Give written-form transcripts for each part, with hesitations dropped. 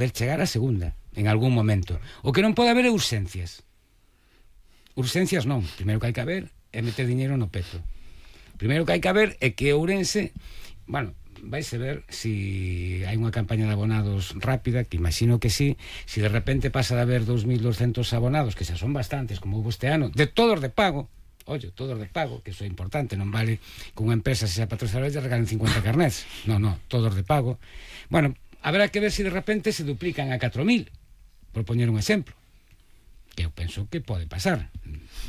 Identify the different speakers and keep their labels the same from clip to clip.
Speaker 1: poder chegar a segunda en algún momento. O que non pode haber é urxencias. Urxencias non. Primeiro que hai que haber é meter diñeiro no peto. Primeiro que hai que haber é que Ourense, bueno, vais a ver si hai unha campaña de abonados rápida, que imagino que sí, si de repente pasa de haber 2.200 abonados, que xa son bastantes, como hubo este ano, de todos de pago, oye, todos de pago, que iso é importante, non vale que unha empresa se xa patrocinadora e regalen 50 carnets, no, todos de pago. Bueno, habrá que ver si de repente se duplican a 4.000, por poñer un exemplo, que eu penso que pode pasar,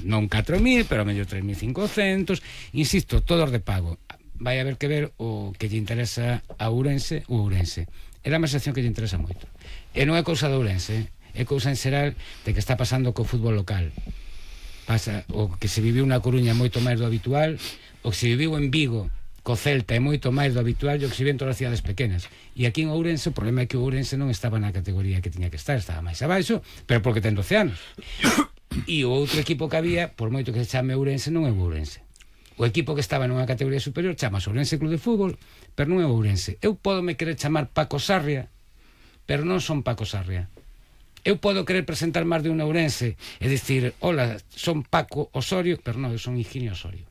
Speaker 1: non 4.000, pero a mellor 3.500, insisto, todos de pago. Vai haber que ver o que lle interesa a Ourense ou Ourense. É a sección que lle interesa moito. E non é cousa de Ourense, é cousa en xeral de que está pasando co fútbol local. Pasa o que se viviu na Coruña moito máis do habitual, o que se viviu en Vigo co Celta é moito máis do habitual e o que se vive en todas as cidades pequenas. E aquí en Ourense o problema é que o Ourense non estaba na categoría que tiña que estar, estaba máis abaixo, pero porque ten 12 anos. E o outro equipo que había, por moito que se chame Ourense, non é o Ourense. O equipo que estaba nunha categoría superior chama Ourense Club de Fútbol, pero non é Ourense. Eu podo me querer chamar Paco Sarria, pero non son Paco Sarria. Eu podo querer presentar máis de un Ourense e dicir, hola, son Paco Osorio, pero non, eu son Higinio Osorio.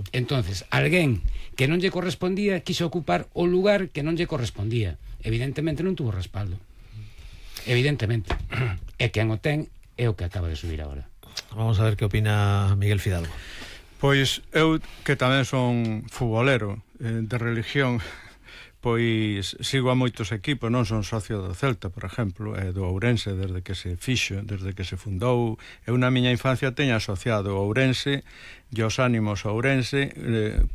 Speaker 1: Entonces, alguén que non lle correspondía quiso ocupar o lugar que non lle correspondía. Evidentemente non tuvo respaldo. Evidentemente. E quen o ten é o que acaba de subir agora.
Speaker 2: Vamos a ver que opina Miguel Fidalgo.
Speaker 3: Pois eu, que tamén son futbolero de religión, pois sigo a moitos equipos, non son socio do Celta, por exemplo, e do Ourense desde que se fixo, desde que se fundou. Eu na miña infancia teño asociado o Ourense e os ánimos a Ourense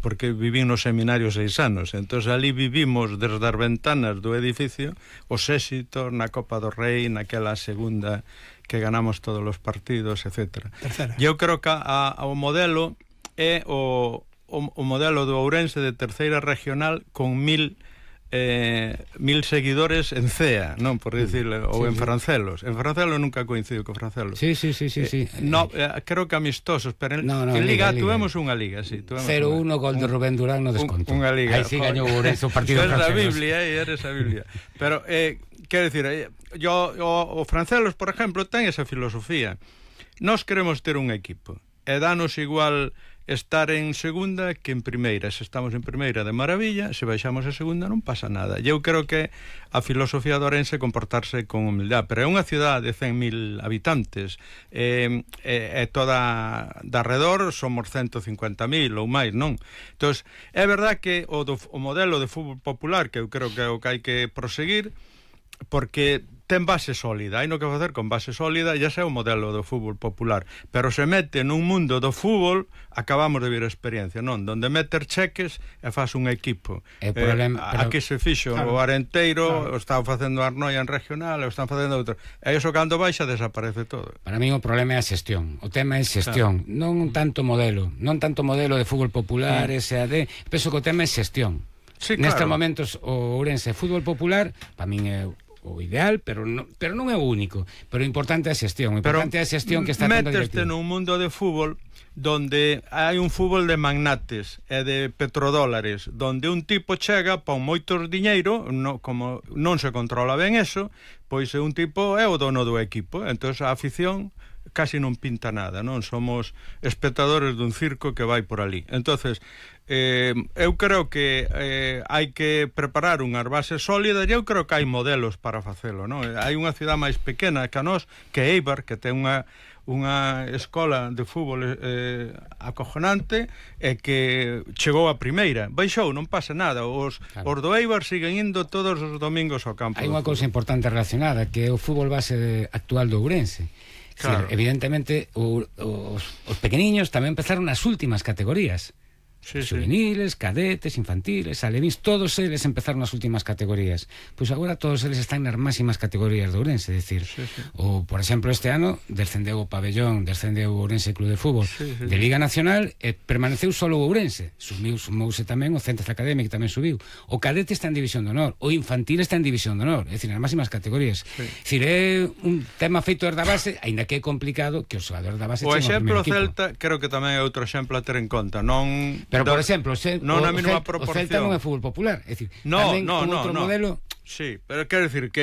Speaker 3: porque vivín nos seminarios 6 anos, entón ali vivimos desde as ventanas do edificio os éxitos na Copa do Rei, naquela segunda que ganamos todos os partidos, etc. E eu creo que o modelo é o modelo do Ourense de terceira regional con 1.000 seguidores en CEA, non por dicirle, ou en Francelos. En Francelos nunca coincido co Francelos.
Speaker 1: Sí.
Speaker 3: No, creo que amistosos, pero en Liga tuvemos unha liga, sí,
Speaker 1: 0-1 gol de Rubén Durán no desconto.
Speaker 3: Unha liga.
Speaker 1: Aí sí gañou Ourense o partido francés.
Speaker 3: Eres a Biblia. Pero quero dicir, o Francelos, por exemplo, ten esa filosofía. Nós queremos ter un equipo e danos igual estar en segunda que en primeira. Se estamos en primeira, de maravilla, se baixamos a segunda non pasa nada. E eu creo que a filosofía do Ourense comportarse con humildade, pero é unha cidade de 100.000 habitantes e toda de arredor somos 150.000 ou máis, non? Entón, é verdad que o modelo de fútbol popular, que eu creo que é o que hai que proseguir, porque ten base sólida, hai no que facer con base sólida, e ese é o modelo do fútbol popular, pero se mete nun mundo do fútbol, acabamos de vir a experiencia, non? Donde meter cheques e faz un equipo. Aquí se fixo o Arenteiro, o están facendo a Arnoia en regional, o están facendo outro, e iso cando baixa desaparece todo.
Speaker 1: Para mí o problema é a xestión, o tema é xestión, non tanto modelo de fútbol popular, SAD, penso que o tema é xestión. Nestes momentos o Ourense fútbol popular, para min é o ideal, pero non é o único, pero o importante é a xestión, que está tendo
Speaker 3: meteste nun mundo de fútbol donde hai un fútbol de magnates e de petrodólares, donde un tipo chega pon moitos diñeiro, como non se controla ben eso, pois un tipo é o dono do equipo, entón a afición casi non pinta nada, non? Somos espectadores dun circo que vai por ali. Entonces, eu creo que hai que preparar unhas bases sólidas, e eu creo que hai modelos para facelo, non? Hai unha cidade máis pequena que a nós, que é Eibar, que ten unha escola de fútbol acojonante e que chegou a primeira, baixou, non pasa nada, os do Eibar siguen indo todos os domingos ao campo.
Speaker 1: Hai unha cousa importante relacionada, que é o fútbol base actual do Ourense. Claro. Evidentemente os pequeniños tamén empezaron nas últimas categorías, juveniles, cadetes, infantiles, alevins, todos eles empezaron nas últimas categorías. Pois agora todos eles están nas máximas categorías de Ourense, decir, ou por exemplo este ano descendeu o Pabellón, descendeu o Ourense Club de Fútbol de Liga Nacional e permaneceu solo o Ourense. Sumouse tamén o Centro Académico, que tamén subiu. O cadete está en División de Honor, o infantil está en División de Honor, é dicir, nas máximas categorías. É dicir, é un tema feito desde a base, aínda que é complicado que os xogadores da base
Speaker 3: o exemplo Celta, creo que tamén é outro exemplo a ter en conta, non.
Speaker 1: Pero, por exemplo, o Celta non é fútbol popular, é dicir, tamén con outro modelo
Speaker 3: Sí, pero quero dicir que